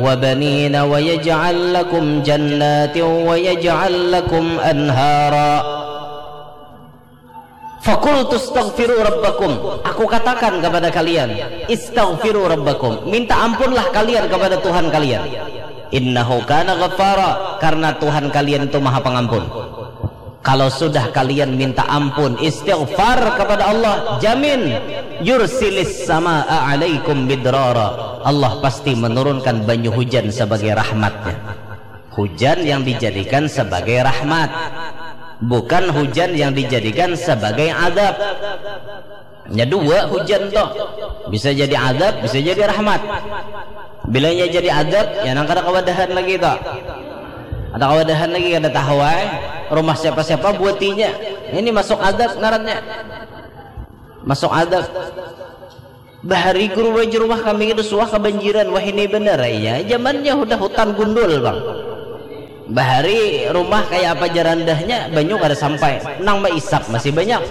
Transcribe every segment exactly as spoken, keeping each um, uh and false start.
وبنين ويجعل لكم جنات ويجعل لكم أنهارا. فقلت استغفروا ربكم. Aku katakan kepada kalian, istaghfiru rabbakum. Minta ampunlah kalian kepada Tuhan kalian. Innahu kana ghaffara, karena Tuhan kalian itu Maha Pengampun. Kalau sudah kalian minta ampun, istighfar kepada Allah, jamin, yursilis samaa alaikum midrara. Allah pasti menurunkan banyu hujan sebagai rahmatnya. Hujan yang dijadikan sebagai rahmat, bukan hujan yang dijadikan sebagai adab. Nya dua hujan tu. Bisa jadi adab, bisa jadi rahmat. Bilanya jadi adab, ya nang kada kawadahan lagi tu. Ada kawadahan lagi, kada tahu ai. Rumah siapa-siapa buatinya. Ini masuk adab ngarannya. Masuk adab. Bahari guru wajar rumah kami itu suah kebanjiran. Wah, ini benar ya. Zamannya udah hutan gundul, Bang. Bahari rumah kayak apa jarandahnya, banyu kada sampai. Nang maisap masih banyak.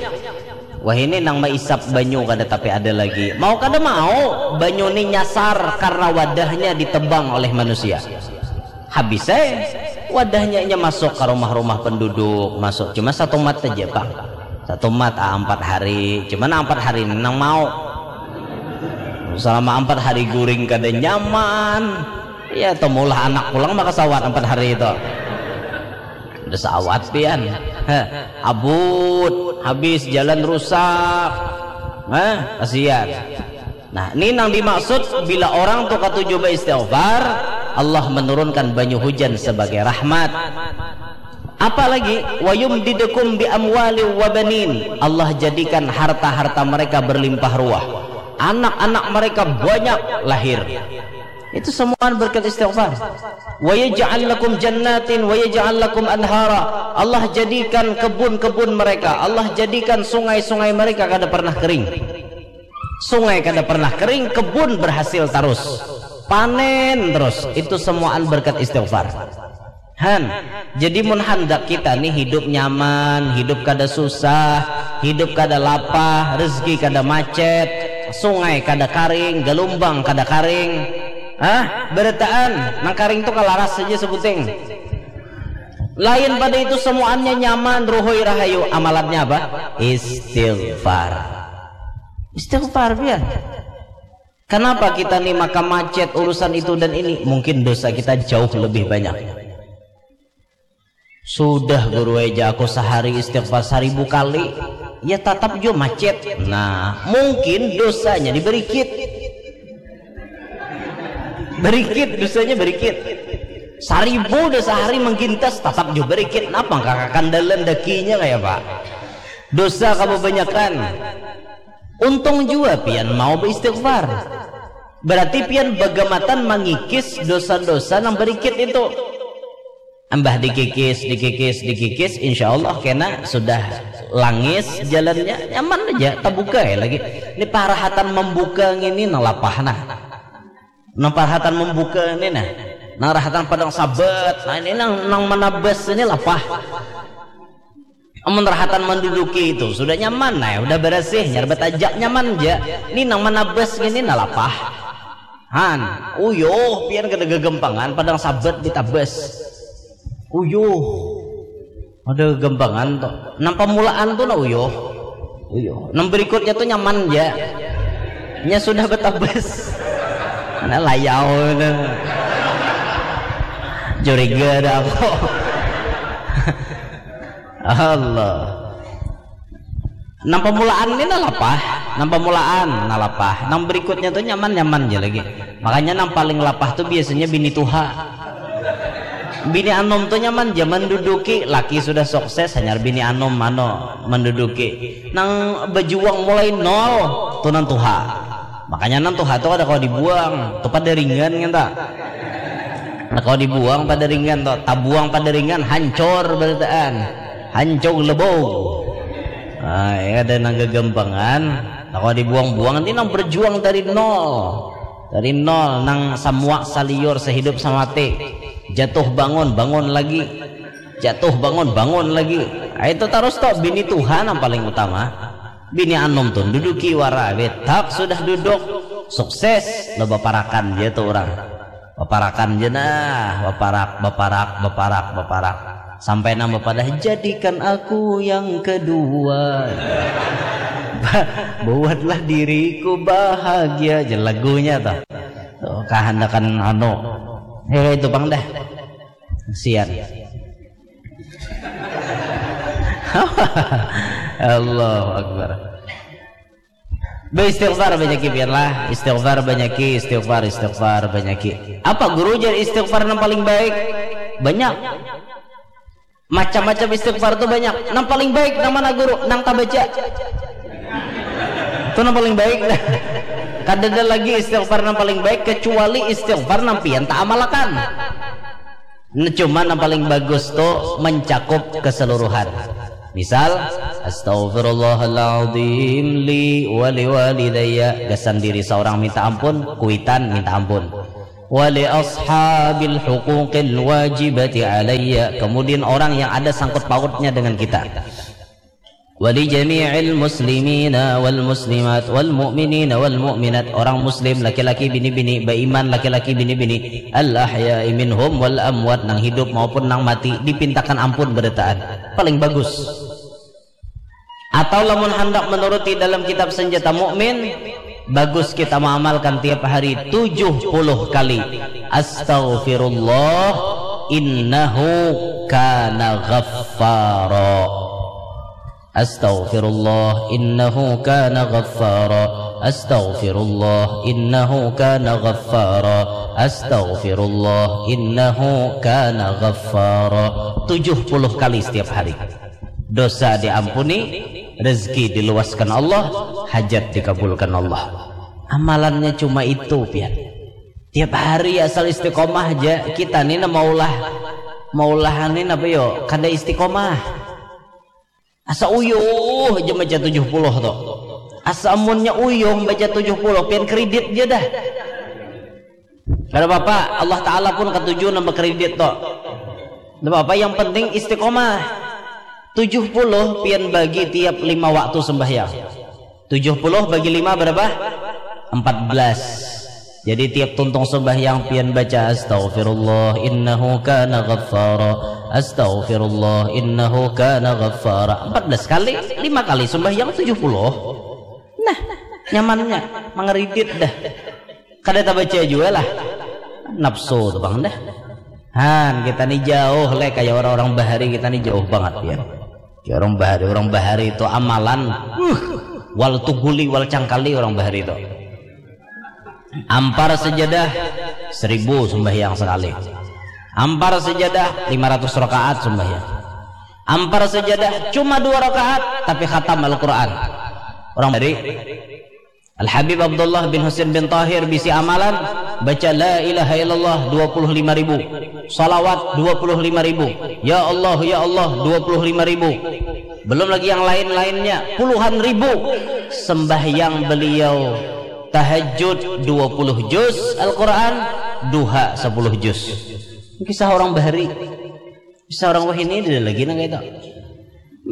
Wah, ini nang maisap banyu kada tapi ada lagi. Mau kada mau, banyu ni nyasar karena wadahnya ditebang oleh manusia. Habis eh, wadahnya inya masuk ke rumah-rumah penduduk, masuk cuma satu mat aja, Bang. Satu mat, ah, empat hari. Cuma nang empat hari ini nang mau. Selama empat hari guring kada nyaman. Ya, temulah anak pulang maka sawat empat hari itu. Udah sawat pian. Heh, abut, habis jalan rusak. Hah, kasihan. Nah, ini nang dimaksud bila orang tu katuju beristighfar, Allah menurunkan banyu hujan sebagai rahmat. Apalagi, wayumdidukum bi amwali wa banin. Allah jadikan harta-harta mereka berlimpah ruah. Anak-anak mereka banyak lahir. Itu semua berkat istighfar. Wa yaj'al lakum jannatin wa yaj'al lakum anhara. Allah jadikan kebun-kebun mereka, Allah jadikan sungai-sungai mereka kada pernah kering. Sungai kada pernah kering, kebun berhasil terus. Panen terus. Itu semuaan berkat istighfar. Han, jadi mun handak kita nih hidup nyaman, hidup kada susah, hidup kada lapah, rezeki kada macet, sungai kada karing, gelombang kada karing. Hah? Berataan, nang karing tu kalaras saja sebuting. Lain pada itu semuanya nyaman, ruhui rahayu. Amalannya apa? Istighfar. Istighfar, biar. Kenapa kita nih maka macet urusan itu dan ini? Mungkin dosa kita jauh lebih banyak. Sudah guru eja aku sehari istighfar seribu kali, ya tetap jo macet. Nah, mungkin dosanya diberikit. Berikit, dosanya berikit. Seribu dosa hari menggintas, tetap jo berikit. Napa kakakandalan dakinya kayak apa? Dosa kebanyakan. Untung jua pian mau beristighfar. Berarti pian bagamatan mangikis dosa-dosa nang berikit itu. Ambah dikikis, dikikis, dikikis, insya Allah kena sudah langis jalannya, nyaman aja, terbuka ya lagi. Ini parahatan membuka ini nang lapah nah. Nang parahatan membuka ini nah. Nang rahatan padang sabat, nah ini nang, nang manabas ini lapah. Amun rahatan manduduki itu sudah nyaman, nah, udah beresih, nyarbat ajak nyaman ja. Ni nang manabas ngini nah lapah. Han, uyuh, pian kada gagampangan, padang sabat ditabas. Uyuh. Ada gagampangan tu. Nang pamulaan tu nah uyuh. Uyuh. Nang berikutnya tu nyaman ja. Nya sudah betabas. Nah, layau tu. Curiga ada aku. Allah. Nang pamulaan ni nah lapah, nang pamulaan nah lapah, nang berikutnya tu nyaman-nyaman ja lagi. Makanya nang paling lapah tu biasanya bini tuha. Bini anum tu nyaman ja manduduki, laki sudah sukses, hanyar bini anum anu manduduki. Nang bajuang mulai nol tu nang tuha. Makanya nang tuha tu kada kawa dibuang, tu pada ringan kan ta. Nah, kalau dibuang pada ringan tu, tabuang pada ringan, hancur berataan, hancur lebau. Nah, ya ada nang gagampangan, nah, kalau dibuang-buang nanti nang berjuang dari nol, dari nol, nang samua saliur sehidup samati, jatuh bangun, bangun lagi, jatuh bangun, bangun lagi. Nah, itu terus tu bini tuha nang paling utama. Bini anum tu duduki wara, betak sudah duduk, sukses, loba parakan dia tu orang. Baparakan ja nah, baparak, baparak, baparak, baparak. Sampai nang bapadah, "Jadikan aku yang kedua." Ba-, "Buatlah diriku bahagia." Jar lagunya tuh. Tuh, kahandakan anu. Ya, itu pang dah. Kasihan. Allahu Akbar. Beristighfar banyaki, biarlah. Istighfar banyaki, istighfar, istighfar banyaki. Apa guru jar istighfar nang paling baik? Banyak. Macam-macam istighfar tuh banyak. Nang paling baik nang mana guru? Nang tabaca. Itu nang paling baik. Kadada lagi istighfar nang paling baik kecuali istighfar nang pian taamalakan. Nah, cuma nang paling bagus tuh mencakup keseluruhan. Misal, "Astaghfirullahaladzim li wali walidayya." Gasan diri seorang minta ampun, kuitan minta ampun. "Wali ashabil huquqil wajibati alayya." Kemudian orang yang ada sangkut pautnya dengan kita. "Wali jami'il muslimina wal muslimat wal mu'minina wal mu'minat." Orang muslim, laki-laki, bini-bini, baiman, laki-laki, bini-bini, "al ahya'i minhum wal amwat," nang hidup maupun nang mati, dipintakan ampun berataan. Paling bagus. Atau lamun handak menuruti dalam kitab Senjata Mukmin, bagus kita mengamalkan tiap hari tujuh puluh kali, "Astaghfirullah, innahu kana ghaffara." "Astaghfirullah, innahu kana ghaffara. Astaghfirullah, innahu kana ghaffara. Astaghfirullah, innahu kana ghaffara." Tujuh puluh kali setiap hari. Dosa diampuni, rezeki diluaskan Allah, hajat dikabulkan Allah. Amalannya cuma itu, pian. Tiap hari asal istiqomah aja, kita ni nah maulah, maulah ni napa yo, kada istiqomah. Asa uyuh aja baca tujuh puluh tuh. Asa amunnya uyuh baca tujuh puluh, pian kredit aja dah. Kada apa-apa, Allah Ta'ala pun katuju nambah kredit tuh. Kada apa-apa, yang penting istiqomah. Tujuh puluh pian bagi tiap lima waktu sembahyang. Tujuh puluh bagi lima berapa? Empat belas. Jadi tiap tuntung sembahyang pian baca, "Astaghfirullah, innahu kana ghaffara. Astaghfirullah, innahu kana ghaffara." Empat belas kali, lima kali sembahyang tujuh puluh. Nah, nyamannya, mangridit dah. Kada tabaca jua lah. Nafsu tu pang dah. Han, kita ni jauh leh, kaya orang-orang bahari, kita ni jauh bangat ya. Kaya orang bahari, orang bahari itu amalan, uh, wal tuguli, wal cangkali orang bahari itu. Ampar sajadah, seribu sembahyang sekali. Ampar sajadah, lima ratus rakaat sembahyang. Ampar sajadah, cuma dua rakaat, tapi khatam Al-Quran. Orang bahari, Al-Habib Abdullah bin Husain bin Tahir bisi amalan, baca la ilaha illallah dua puluh lima ribu, salawat dua puluh lima ribu, ya Allah, ya Allah dua puluh lima ribu. Belum lagi yang lain-lainnya, puluhan ribu. Sembahyang beliau tahajud dua puluh juz Al-Quran, duha sepuluh juz. Kisah orang bahari. Bisa orang wahini ada lagi nang kaya itu.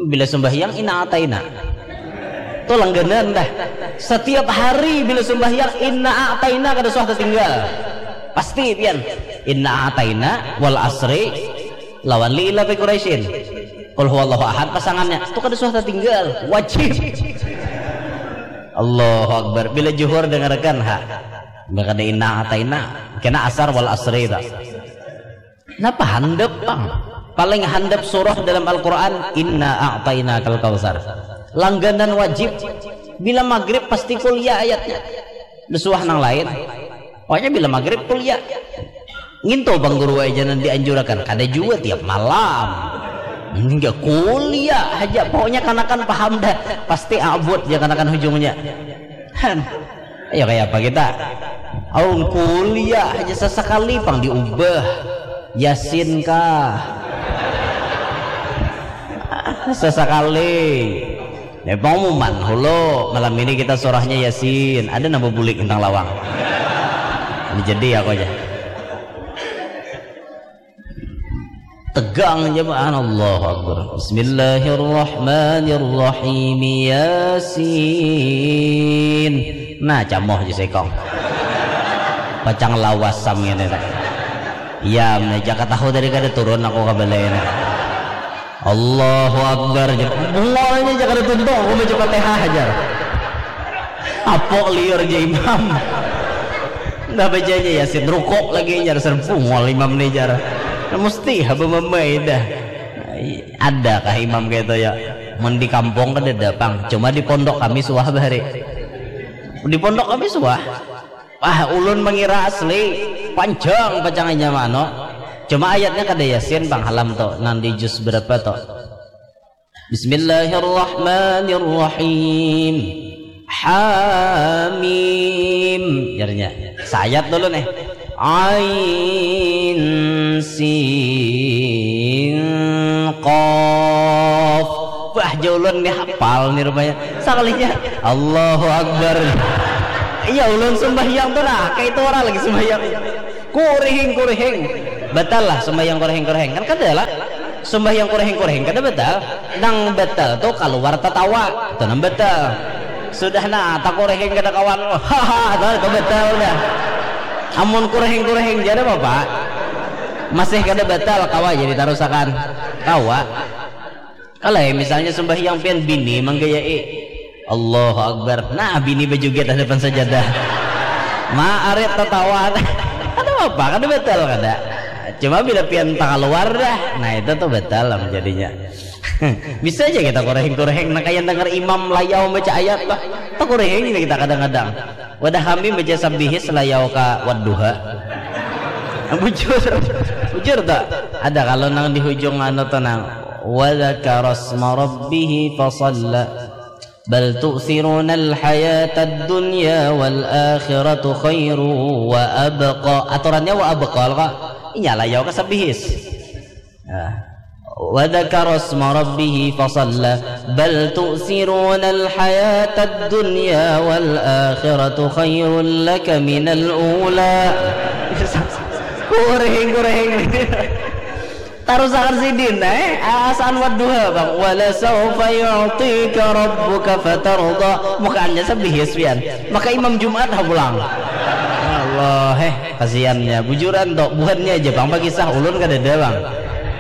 Bila sembahyang, inna ataina. Tuh langganan dah. Setiap hari bila sembahyang, inna ataina kada suah tertinggal. Pasti pian. Inna ataina, wal asri, lawan li ila fi Quraisyin. Qul huwallahu ahad pasangannya. Tuh kada suah tertinggal. Wajib. Allahu Akbar. Bila juhur dengarkan ha. Bila kada inna ataina, kena asar wal asri tak. Napa handap pang? Paling handap surah dalam Al-Quran, inna a'tainakal kautsar. Langganan wajib. Bila maghrib pasti kuliah ayatnya. Besuah nang lain. Pokoknya bila maghrib kuliah. Ngintu bang guru aja nang dianjurakan. Kada jua tiap malam. Enggak kuliah aja. Pokoknya kanakan paham dah. Pasti abut ya kanakan hujungnya. Han. Ayo kaya apa kita? Aung kuliah aja sesekali pang diubah. Yasin kah? Sesekali. Ya, pengumuman hulu malam ini kita surahnya Yasin. Ada nambah bulik tentang lawang. Ini jadi aku aja. Tegang jemaah, Allahu Akbar. Bismillahirrahmanirrahim. Yasin. Nah, camoh je sekong. Pacang lawas sam ngini nah. Iya, aja katahu tadi kada turun aku ka balai nah. Allahu Akbar, jar. Bungolnya aja kada tuntung aku baca Fatihah, jar. Apok liur ja imam. Nah, bacanya Yasin, rukuk lagi, jar. Ser, bungol imam nih, jar. Nah, mesti haba mamai dah. Adakah imam kaya itu, ya? Mun di kampung kadada pang, cuma di pondok kami suah bahari. Di pondok kami suah. Ah, ulun mangira asli panjang pacangnya mano. Cuma ayatnya kada Yasin pang, halam to, nang di juz berapa to? Bismillahirrahmanirrahim. Hamim. Jarnya. Sayat dulu nih. Ain sin qaf. Wah, ja ulun nih hapal nih rupanya. Sakalinya Allahu Akbar. Iya, ulun sembahyang tuh nah, kayak itu orang lagi sembahyang. Kurihing, kurihing. Batal lah sembahyang kurihing, kurihing. Kan kada lah. Sembahyang kurihing, kurihing kada batal. Nang batal tuh kaluar tatawa. Itu nang batal. Sudah nah, tak kurihing kada kawan. Haha, itu batal dah. Amun kurihing, kurihing, jadi apa, Pak? Masih kada batal, kawa jadi tarusakan. Kawa. Kalau misalnya sembahyang pian bini manggayai. Allahu Akbar. Nah, bini berjoget hadapan sajadah. Ma, arit tatawa. Ada apa? Kada batal kada. Cuma bila pian tak keluar dah. Nah, itu tuh batal lah jadinya. Bisa aja kita kureheng-kureheng. Nah, kayak dengar imam layau baca ayat lah. Tak kureheng ini kita kadang-kadang. Wadah kami baca sabihis layau ka wadduha. Bujur. Bujur tak? Ada kalau nang di hujung anu tuh nang. Wa dzakarasma rabbihi fasalla. Bal tu'thirunal hayatad dunya wal akhiratu khairu wa abqa. Aturannya wa abqa kok. Inya layau ka sabihis. Nah. Wa dzakarasma rabbihi fasalla. Bal tu'thirunal hayatad dunya wal akhiratu khairul laka minal ula. Kureheng, kureheng. Tarusakan sidin, eh? Asaan wadduha, Bang. Wala saufa yu'tika rabbuka fatarda. Mukaannya sabihis pian. Maka Imam Jumat ha pulang. Allah, eh, kasihannya. Bujuran tok, buhannya aja, Bang, pakisah, ulun kadada, Bang.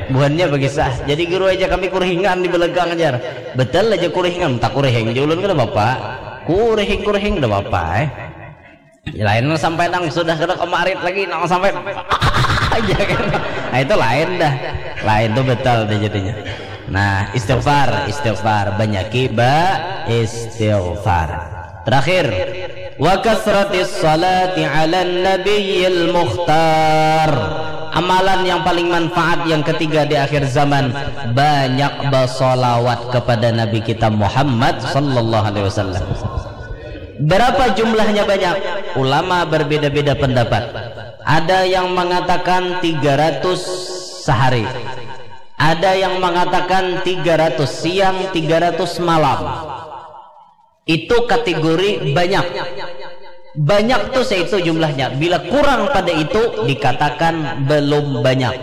Buhannya pakisah. Jadi guru aja kami kurihingan di belakang ajar. Betul aja kurihingan, tak kurihing aja ulun kada apa-apa. Kurihing, kurihing kada apa-apa, eh. Lain nang sampai nang sudah kada kemarit lagi nang sampai aja kan. Nah, itu lain dah. Lain tuh betul deh jadinya. Nah, istighfar, istighfar, banyaki ba istighfar. Terakhir, wa kasratis salati ala nabiyil mukhtar. Amalan yang paling manfaat yang ketiga di akhir zaman, banyak bersolawat kepada Nabi kita Muhammad sallallahu alaihi wasallam. Berapa jumlahnya banyak? Ulama berbeda-beda pendapat. Ada yang mengatakan tiga ratus sehari. Ada yang mengatakan tiga ratus siang, tiga ratus malam. Itu kategori banyak. Banyak tuh seitu jumlahnya. Bila kurang pada itu dikatakan belum banyak.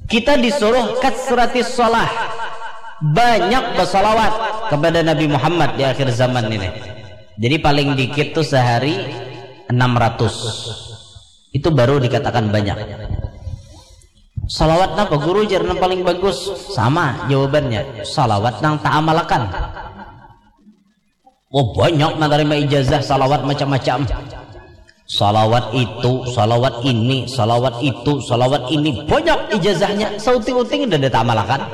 Kita disuruh kasratis shalah. Banyak bersalawat kepada Nabi Muhammad di akhir zaman ini. Jadi paling dikit tuh sehari enam ratus. Itu baru dikatakan banyak. Salawat napa guru jar nang paling bagus? Sama jawabannya. Salawat nang taamalakan. Oh, banyak menerima ijazah salawat macam-macam. Salawat itu, salawat ini, salawat itu, salawat ini. Banyak ijazahnya, sauting-uting dan ditamalakan.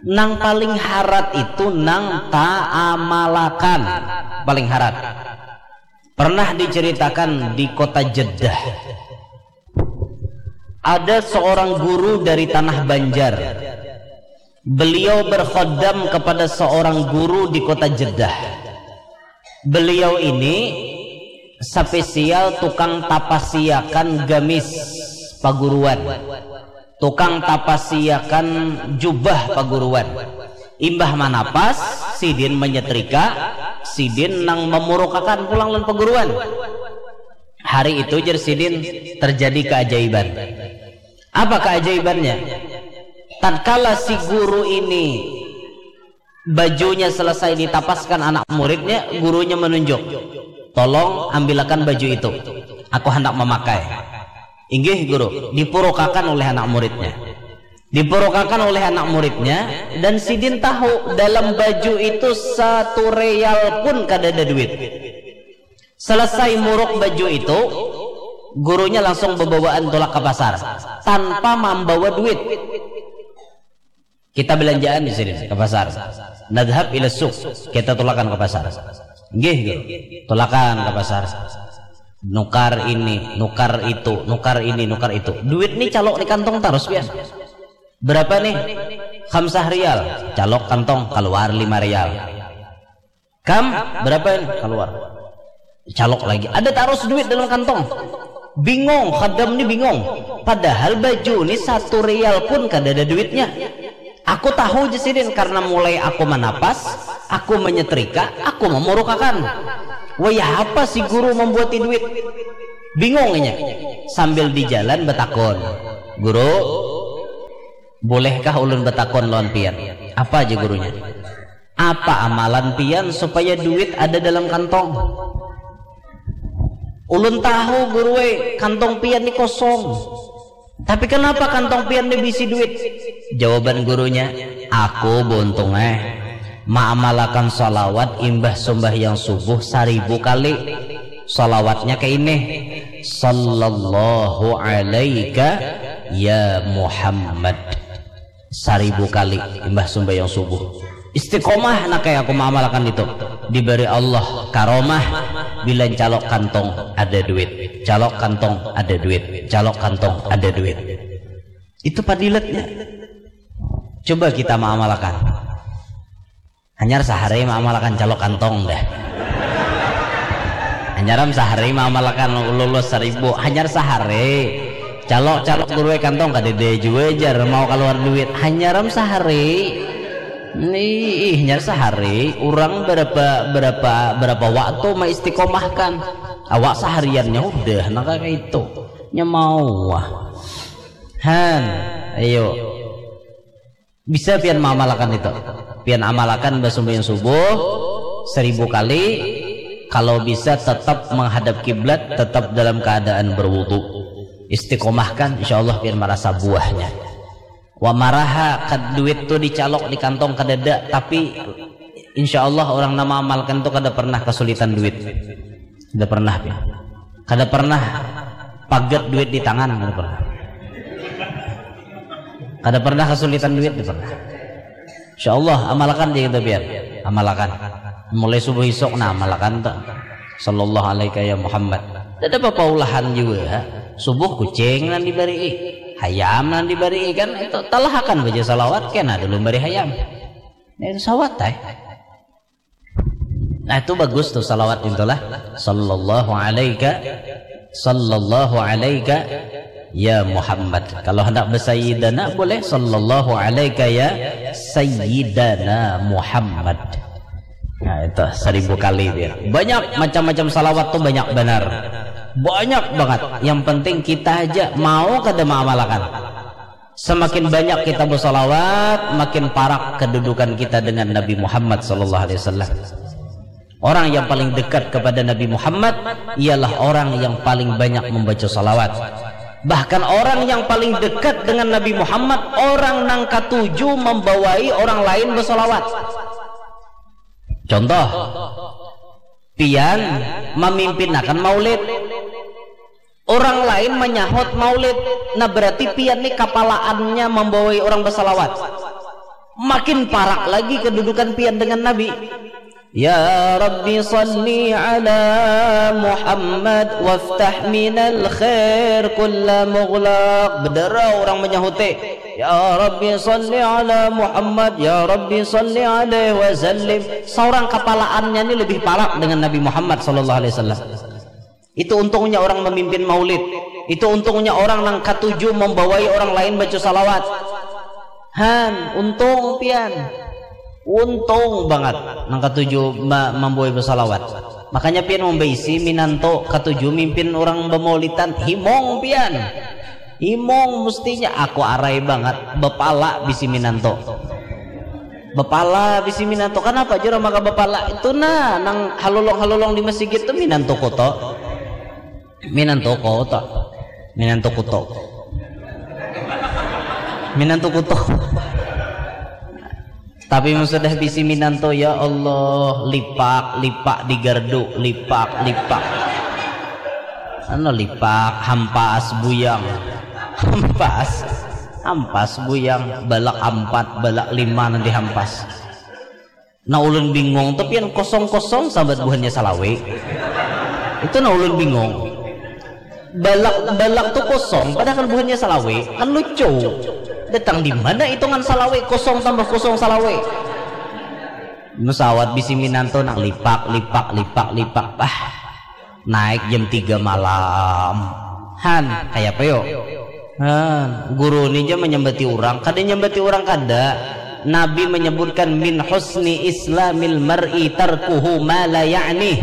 Nang paling harat itu nang taamalakan. Paling harat. Pernah diceritakan di kota Jeddah. Ada seorang guru dari tanah Banjar. Beliau berkhodam kepada seorang guru di kota Jeddah. Beliau ini spesial tukang tapasiakan gamis paguruan. Tukang tapasiakan jubah paguruan. Imbah manapas, sidin menyetrika, sidin nang memurukakan pulang lan paguruan. Hari itu jer sidin terjadi keajaiban. Apa keajaibannya? Tatkala si guru ini bajunya selesai ditapaskan anak muridnya, gurunya menunjuk, "Tolong ambilakan baju itu." Aku handak mamakai. Inggih, Guru. Dipurukakan oleh anak muridnya. Dipurukakan oleh anak muridnya, dan sidin tahu dalam baju itu satu real pun kadada duit. Selesai muruk baju itu, gurunya langsung bebawaan tulak ke pasar tanpa mambawa duit. Kita belanjaan di sini ke pasar. Nadhhab ila suq, kita tulakan ke pasar. Nggih, Guru. Tulakan ke pasar. Nukar ini, nukar itu, nukar ini, nukar itu. Duit ni calok di kantong tarus, pian. Berapa nih? Khamsah rial. Calok kantong, keluar lima rial. Kam, berapa ini? Keluar. Calok lagi. Ada tarus duit dalam kantong. Bingung, khadam ni bingung. Padahal baju ni satu rial pun kada ada duitnya. Aku tahu je sidin karena mulai aku manapas, aku menyetrika, aku memurukakan. Wayah apa si guru membuati duit? Bingung inya. Sambil di jalan betakon, "Guru, bolehkah ulun betakon lawan pian?" "Apa aja gurunya?" "Apa amalan pian supaya duit ada dalam kantong?" "Ulun tahu, Guru, eh, kantong pian ni kosong. Tapi kenapa kantong pian ni bisi duit?" Jawaban gurunya, "Aku buntung, eh, maamalakan salawat imbah sumbahyang subuh saribu kali. Salawatnya ke ini, Sallallahu alaika ya Muhammad." Saribu kali imbah sumbayang subuh. Istiqomah nak kayak aku maamalakan itu. Diberi Allah karomah, bila calok kantong ada duit, calok kantong ada duit, calok kantong ada duit. Itu padilatnya. Coba kita maamalakan. Hanyar sahari maamalakan calok kantong dah. Hanyaram sahari maamalakan lulus saribu. Hanyar sahari. Calok-calok guru kantong kadede jua jar mau keluar duit. Hanyaram sahari. Nih, hanyar sahari. Orang berapa berapa berapa waktu maistiqomahkan. Awak sehariannya udah nang kayak itu. Nyamauah. Han, ayo. Bisa pian maamalakan itu. Pian amalakan basumbayang subuh seribu kali. Kalau bisa tetap menghadap kiblat, tetap dalam keadaan berwudu. Istiqomahkan, insya Allah pian merasa buahnya. Wa maraha kad duit tu dicalok di kantong kadada, tapi insya Allah orang nama amalkan tu kada pernah kesulitan duit. Kada pernah pian. Kada pernah pagat duit di tangan, kada pernah. Kada pernah kesulitan duit, kada pernah. Insya Allah, amalakan je kita pian. Amalakan. Mulai subuh isuk, nah, amalakan tu. Sallallahu alaika ya Muhammad. Tidak apa-apa ulahan juga. Subuh kucing nang dibari, hayam nang dibari kan. Itu talahakan baca salawat, kena dulu bari hayam. Nah, itu sawat, eh. Nah, itu bagus tuh salawat itulah. Sallallahu alaika, sallallahu alaika ya Muhammad. Kalau hendak besayyidana boleh, sallallahu alaika ya sayyidana Muhammad. Nah, itu seribu kali dia. Banyak macam-macam salawat tuh, banyak benar. Banyak banget. Yang penting kita aja mau kada maamalakan. Semakin banyak kita bersalawat, makin parak kedudukan kita dengan Nabi Muhammad sallallahu alaihi wasallam. Orang yang paling dekat kepada Nabi Muhammad ialah orang yang paling banyak membaca salawat. Bahkan orang yang paling dekat dengan Nabi Muhammad, orang nang katuju membawai orang lain bersalawat. Contoh, pian memimpinakan maulid. Orang lain menyahut maulid, nah berarti pian ni kapalaannya membawai orang bersalawat. Makin parak lagi kedudukan pian dengan Nabi. Ya Rabbi salli ala Muhammad waftah minal khair kulla mughlaq. Bedera orang menyahuti. Ya Rabbi salli ala Muhammad, ya Rabbi salli alaihi wasallim. Seorang kapalaannya ni lebih parak dengan Nabi Muhammad sallallahu alaihi wasallam. Itu untungnya orang memimpin maulid. Itu untungnya orang nang katuju membawai orang lain baca salawat. Han, untung pian. Untung banget nang katuju ma- membawai bersalawat. Makanya pian membaisi minanto katuju mimpin orang bemaulitan. Himong pian. Himong mestinya aku arai banget. Bepala bisi minanto. Bepala bisi minanto. Kenapa jura maka bepala? Itu nah, nang halulong-halulong di masjid itu minanto koto. Minantu ko to. Minantu kuto. Minantu kuto. Tapi mun sudah bisi minantu, ya Allah, lipak, lipak di gardu, lipak, lipak. Anu lipak, hampas, buyang. Hampas. Hampas, buyang, balak ampat, balak lima nanti hampas. Nah, ulun bingung tu pian, kosong-kosong sambat buhannya salawe. Itu nah ulun bingung. Balak balak tu kosong padahal buhannya salawe, kan lucu. Datang di mana hitungan salawe, kosong tambah kosong salawe. Musawat bisi minantu nang lipak lipak lipak lipak, bah. Naik jam tiga malam. Han, kaya apa yo? Han, guru ni ja menyambati orang, kada nyambati orang kada. Nabi menyebutkan min husni islamil mar'i tarkuhu ma la ya'ni.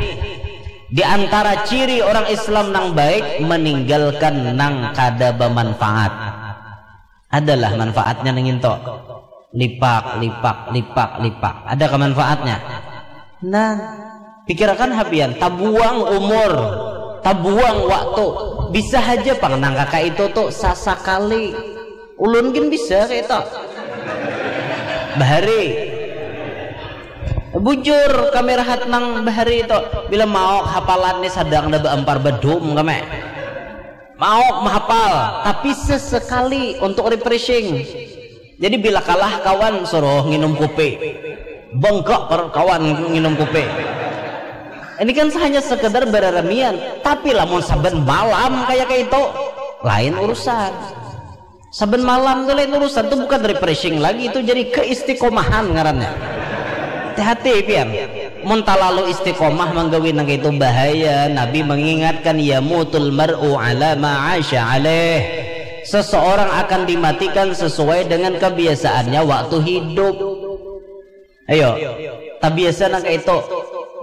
Di antara ciri orang Islam nang baik meninggalkan nang kada bermanfaat. Adalah manfaatnya nang into. Lipak, lipak, lipak, lipak. Ada kemanfaatnya. Nah, pikirakan habian, tabuang umur, tabuang waktu. Bisa aja pang nang kaka itu tuh sasakali. Ulun gin bisa kayak itu. Bahari. Bujur kami rahat nang bahari itu. Bila mau hapalan nih sadang ada beampar bedum kami. Mau mahapal, tapi sesekali untuk refreshing. Jadi bila kalah kawan suruh nginum kopi. Bengkak per kawan nginum kopi. Ini kan hanya sekedar bereremian, tapi lamun saben malam kayak kayak itu lain urusan. Saben malam tuh lain urusan tuh bukan refreshing lagi, itu jadi keistiqomahan ngarannya. Hati-hati pian. Mun talalu istiqomah manggawi nang itu bahaya. Nabi mengingatkan, yamutul mar'u ala ma asya alaih. Seseorang akan dimatikan sesuai dengan kebiasaannya waktu hidup. Ayo, tabiasa nang kayak itu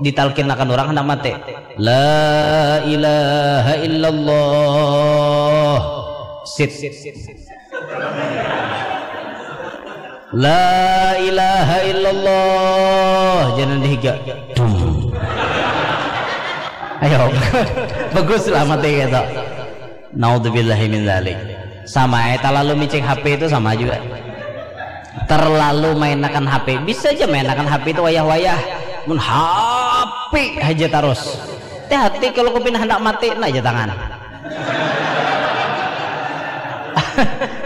ditalkinakan orang hendak mati. La ilaha illallah. Sit. La ilaha illallah. Jangan dihiga. Dung. Ayo, bagus lah mati gitu. Naudzubillahi min dzalik. Sama ya, terlalu micik H P itu sama juga. Terlalu mainakan H P. Bisa aja mainakan H P itu wayah-wayah. Mun H P aja terus. Hati-hati kalau kupin hendak mati, nah aja tangan.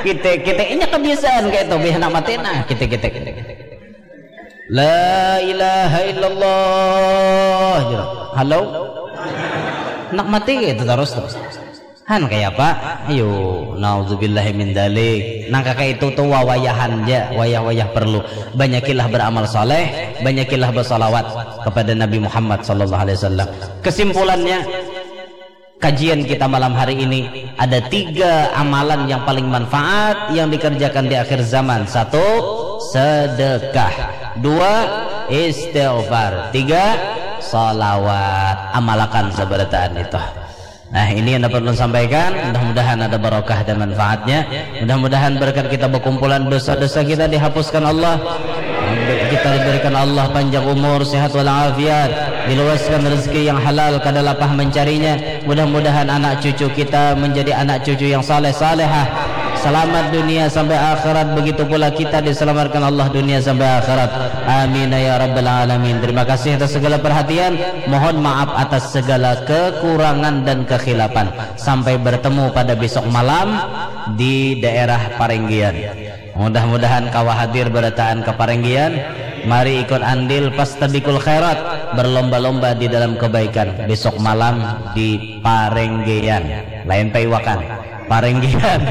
Kita kita inya kebiasaan kayak itu, hendak mati nah kita kita kita. La ilaha illallah. Halo. Hendak mati kayak itu terus terus. Han kaya apa? Ayo, naudzubillahi min dzalik. Nang kaka itu tuh wawayahan ja, wayah-wayah perlu. Banyakilah beramal saleh, banyakilah bersalawat kepada Nabi Muhammad sallallahu alaihi wasallam. Kesimpulannya, kajian kita malam hari ini ada tiga amalan yang paling manfaat yang dikerjakan di akhir zaman. Satu, sedekah. Dua, istighfar. Tiga, salawat. Amalakan sabarataan itu. Nah, ini yang dapat ulun sampaikan. Mudah-mudahan ada barokah dan manfaatnya. Mudah-mudahan berkat kita berkumpulan dosa-dosa kita dihapuskan Allah. Kita diberikan Allah panjang umur, sehat walafiat, diluaskan rezeki yang halal, kada lapah mencarinya. Mudah-mudahan anak cucu kita menjadi anak cucu yang saleh salehah. Selamat dunia sampai akhirat, begitu pula kita diselamatkan Allah dunia sampai akhirat. Amin ya rabbal alamin. Terima kasih atas segala perhatian. Mohon maaf atas segala kekurangan dan kekhilafan. Sampai bertemu pada besok malam di daerah Parenggian. Mudah-mudahan kawa hadir berataan ke Parenggian. Mari ikut andil pastabikul khairat, berlomba-lomba di dalam kebaikan. Besok malam di Parenggian. Lain paiwakan. Parenggian.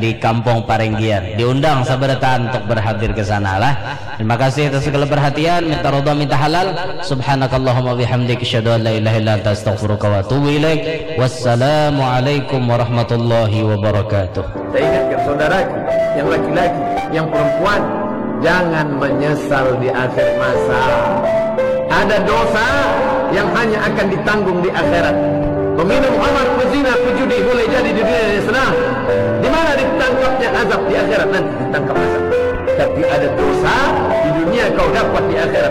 Di kampung Parenggian. Diundang sabarataan untuk berhadir ke sana lah. Terima kasih atas segala perhatian. Minta ridha, minta halal. Subhanakallahumma bihamdik, asyhadu an la ilaha illa anta, astaghfiruka wa atubu ilaik. Wassalamualaikum warahmatullahi wabarakatuh. Saya ingatkan saudaraku yang laki-laki, yang perempuan, jangan menyesal di akhir masa. Ada dosa yang hanya akan ditanggung di akhirat. Peminum khamar, pezina, pejudi boleh jadi di dunia ini senang. Di mana ditangkapnya azab di akhirat nanti ditangkap azab. Tapi ada dosa di dunia kau dapat di akhirat.